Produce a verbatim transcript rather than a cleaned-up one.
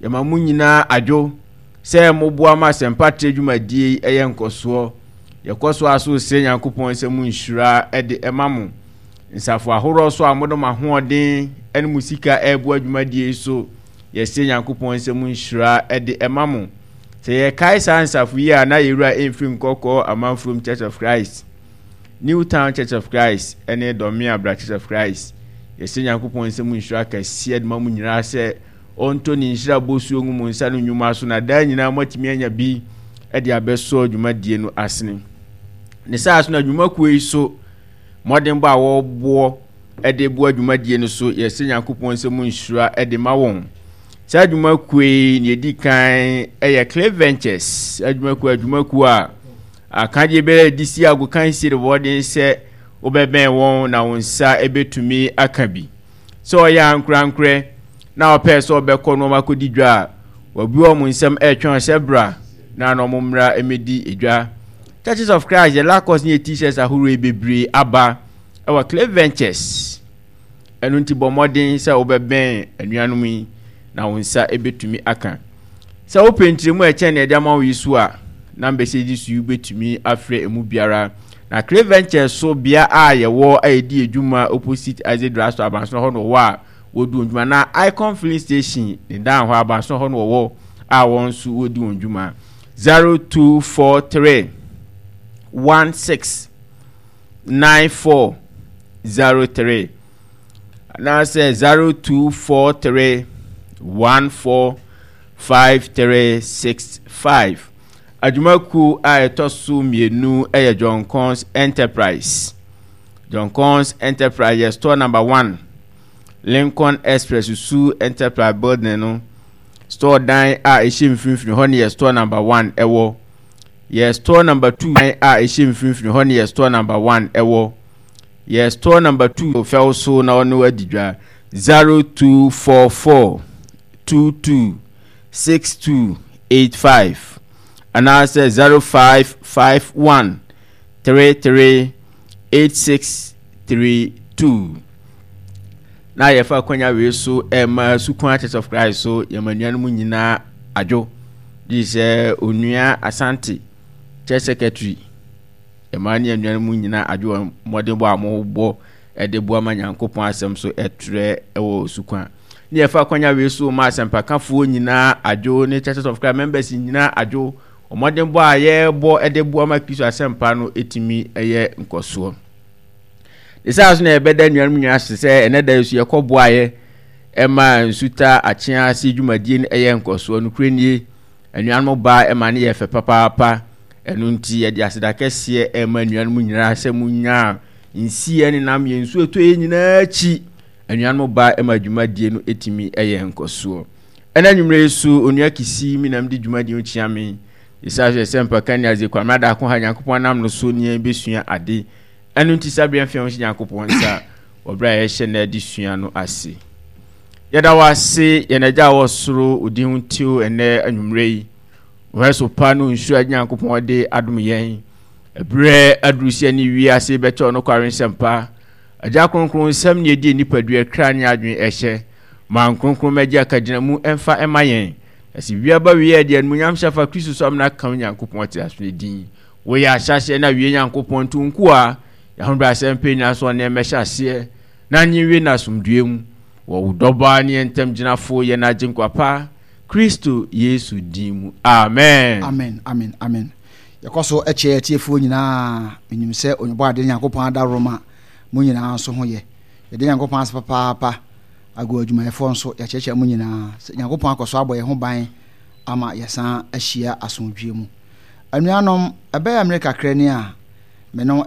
Yɛma mo nyinaa adwo sɛ moboa ma asɛmpatrɛ dwumadie yi ɛyɛ nkɔsoɔ. Yɛkɔ so aso srɛ Nyankopɔn sɛ mo nhyira de ɛma mo. Nsafo ahoroɔ so a mode mo ahoɔden ne mo sika ɛreboa dwumadie yi so, yɛsrɛ Nyankopɔn sɛ mo nhyira de ɛma mo. Sɛ yɛkae saa nsafo yi a, na yɛwura ɛmfiri Nkɔkɔɔ Amanfurom Church of Christ, New Town Church of Christ ne Dɔmeabra Church of Christ. Yɛsrɛ Nyankopɔn sɛ mo nhyira kɛseɛ de ma mo nyinaa, sɛ ɔntɔ ne nhyira bosuo ngu mo nsa no nnwuma so, na daa nyinaa moatumi anya bi de abɛsɔ dwumadie no asene. Ne saa so na dwumakuo yi so mmɔdenbɔ a wɔreboɔ de boa dwumadie no so, yɛsrɛ Nyankopɔn sɛ mo nhyira de ma wɔn. Saa dwumakuo yi, nea ɛdi kan yɛ Cliff Ventures adwumakuo, adwumakuo a akadeɛ biara de si agokansie de wɔden sɛ wobɛbɛn wɔn na wɔn nsa bɛtumi aka bi. Sɛ ɔyɛ ankorankorɛ na ɔpɛɛ sɛ ɔbɛkɔ na ɔmakɔdi dwa a, wɔabue wɔn nsam ɛretwɛn sɛ bra na na wɔn mmra mmɛdi dwa. Churches of Christ yɛ Lacoste ne yɛ T-shirts ahorow yi bebree aba ɛwɔ Cliff Ventures. Ɛno nti bɔ mmɔden sɛ wobɛbɛn anuanom yi na wo nsa bɛtumi aka. Sɛ wopɛ nkyerɛmu a ɛkyɛn nea ɛde ama wo yi so a, numbers yi so yi wobɛtumi afrɛ emu biara. Na Cliff Ventures so bea a yɛwɔ a yɛdi adwuma opposite Isaac Drugstore, Abansoro hɔ na wɔwɔ a wɔdi wɔn dwuma. Na Icon Filling Station ne dan hɔ, Abansoro hɔ na wɔwɔ a wɔn nso wɔdi wɔn dwuma. zero two four three one six nine four zero three anaasɛ zero two four three one four five three six five. Adwumakuo a ɛtɔ so mmienu yɛ John Cons Enterprise. John Cons Enterprise yɛ store number one, Lincoln Express Su Enterprise building no, store dan a ɛhyɛ mfimfini hɔ ne yɛ store number one ɛwɔ. Yɛ store number two dan a ɛhyɛ mfimfini hɔ ne yɛ store number one ɛwɔ. Yɛ store number two fɛw so na ɔno adi dwa zero two four four two two six two eight five anaasɛ zero five five one three three eight six three two. Na yɛfa akwanya wei so ɛma Sukwan Church of Christ so, yɛma nuanom nyinaa adwo de sɛ Onua Asante, church secretary, ɛma ne anuanom nyinaa adwo mmɔdenbɔ a mobɔ ɛde boa ma Nyankopɔn asɛm so ɛtrɛ ɛwɔ Sukwan. Ne yɛfa akwanya wei so ma asɛmpakafoɔ nyinaa adwo ne Churches of Christ members nyinaa adwo mmɔdenbɔ a yɛrebɔ ɛde boa ma Kristo asɛmpa no ɛtumi ɛyɛ nkɔsoɔ. Ne saa so na yɛbɛda nnuanom nyinaa ase sɛ ɛnɛ da yi so yɛkɔ boaeɛ ɛma Nsuta Akyea ase dwumadie no ɛyɛ nkɔsoɔ. Nokorɛ nie, anuanom baa ɛma ne yɛ fɛ papaapa. Ɛno nti yɛde aseda kɛseɛ ɛma anuanom nyinaa sɛ munyaa nsiɛ ne nam yɛn nsuo ɛtɔ yɛ nyinaa akyi, anuanom baa ɛma dwumadie no ɛtumi ɛyɛ nkɔsoɔ. Ɛna nwummerɛ yi so, Onua Kisi mi nam de dwumadie no kyia me ɛsiane sɛ sɛ mpaka ne adze Kwamena Daako ha Nyankopɔn nam no so ne yɛn bɛsua ade. Ɛno nti saa berɛ mfeɛ ho hyɛ Nyankopɔn nsa wɔ berɛ a yɛhyɛ no adi sua no ase. Yɛda wo ase, yɛn Agya a wɔ soro, wo din ho ntew. Ɛnɛ anwummerɛ yi, wɔhɛ so pa no nsuo a Nyankopɔn de adom yɛn, ɛberɛ aduru sɛ ne wiase bɛkyɛ ɔnokware nsɛmpa. Agya kronkron, nsɛm ne ɛdi nipadua kra ne adwene ɛhyɛ ma nkronkron mɛgye akagyina mu ɛmfa ɛma yɛn, na sɛ wiaba wie a, deɛ animuonyam hyɛ fa Kristo so amena ka Nyankopɔn te aso ne din. Woyɛ ahyɛaseɛ na wie Nyankopɔn, nto nko a yɛahobrɛ asɛm pɛ nyinaa so ɔne mmɛhyɛ aseɛ na nye wie no asomdue mu wɔ wo dɔbaa ne yɛn ntam gyinafo, yɛn Agyenkwa pa, Kristo Yesu din mu, amen. Amen, amen, amen. Yɛkɔ so kyerɛ atiefoɔ nyinaa. Menim sɛ Onyebɔ ade Nyankopɔn adaworoma mo nyinaa nso ho yɛ. Yɛde Nyankopɔn ase papaapa. Ago adwumayɛfoɔ nso, yɛkyerɛkyerɛ mo nyinaa sɛ Nyankopɔn akɔ so abɔ yɛn ho ban ama yɛsan ahyia asomdwie mu. Anuanom, ɛbɛyɛ mmerɛ kakra ni a me no